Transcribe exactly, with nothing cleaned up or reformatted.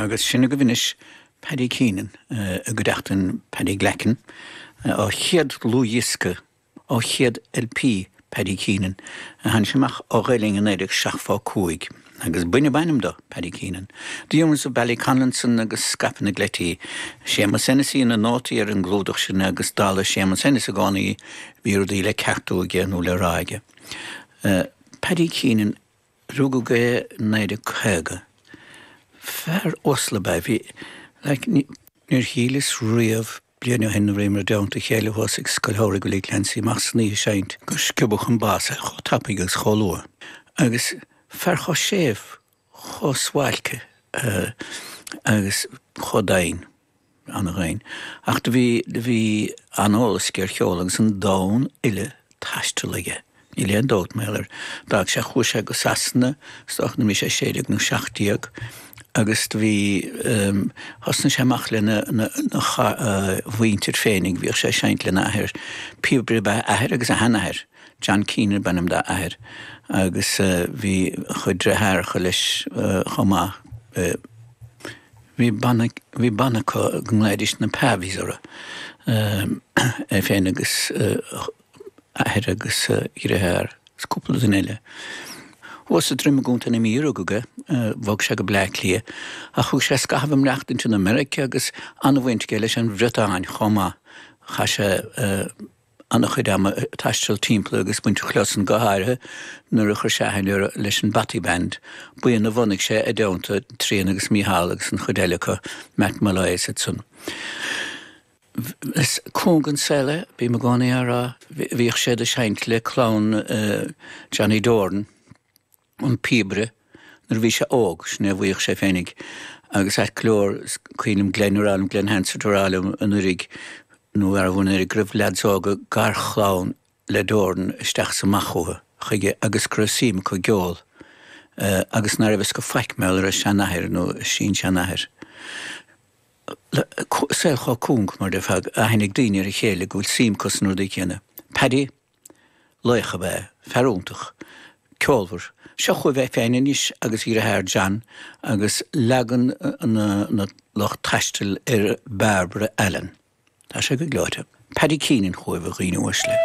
Agus sin agaibh anois Paddy Keenan i gcuideachta Paddy Glackin á chéad dlúthdhiosca á chéad LP Paddy Keenan a tháinig amach ó Ghaelainn in naoi déag seachtó cúig agus b'in ab ainm dó Paddy Keenan. The Humans of Ballyconlinson agus Scaipeadh na gCleití. Séamus Hennessy na nótaí ar an gclúdach sin agus dála Séamus Hennessy i gcónaí bhí rudaí le ceartú aige nó le rá aige. Uh, Paddy Keenan rugadh é naoi déag caoga. Fear uasal ab ea bhí like, níor shíleas riamh bliain ó shin nuair a bhíomar i dteannta a chéile thuas ag Scoil Shamhraidh Willie Clancy amach san oíche seinnt go sciobfadh an bás é chomh tapaidh agus chomh luath. Agus fear chomh séimh chomh suáilce uh, agus chomh domhain an-domhain. Ach do bhí do bhí an-eolas aige ar cheol agus an domhan uile taistil aige. Níl aon dabht mar ar d'fhág sé chuaigh sé go Sasana stoch na mí sé sé déag nó seacht déag agus do bhí um, thosnaigh sé amach lena na, na, uh, mhuintir féinig, bhíodh sé seinnt lena athair píobaire ab ea a athair agus a sheanathair. John Keenan ab ainm dá athair agus uh, bhí chuid deartháireacha leis uh, chomh maith. Uh, bhí banna bhí banna acu go nglaoidís na Pavies orthu um, é féin agus uh, athair agus uh, dheartháir agus cúpla duine eile. Thuas sa Droim i gContae na Mí a rugadh é, bhog sé go Bleá Cliath, ach thug sé scaitheamh ag maireachtaint in America agus an-bhaint aige leis an Bhriotáin chomh maith. Chaith sé uh, an-chuid ama taisteal timpeall agus baint chlusan go háirithe nuair a chuir sé aithne leis an Bothy Band. Buíon a bhunaigh sé i dteannta Trian agus Mícheál agus an chuid eile acu Matt Molloy is san. Is cúng an saol é, bím i gcónaí á rá bhíodh sé ag seinnt le clann uh, Johnny Doran an píobaire nuair a bhí sé óg sin a bhíodh sé féinig agus ait go leor cuimhin liom Glenn ag rá liom Glenn Hansard ag rá liom anuraidh nó ar bhun ar go raibh lads óga garchlann le Doran isteach sa amach chuige chuige agus go raibh suim acu i gceol uh, agus ná raibh go faic mé ar a seanathair nó sin-seanathair. Saol chomh cúng mar de fad aithne ag daoine ar a chéile go bhfuil suim acu sna rudaí céanna. Paddy laoch ab ea, fear iontach, ceolmhar, Seo chugaibh é féin anois agus a dheartháir John agus leagan na, na lucht taistil ar Barbara Allen. Tá sé go gleoite. Paddy Keenan chugaibh a dhaoine uaisle.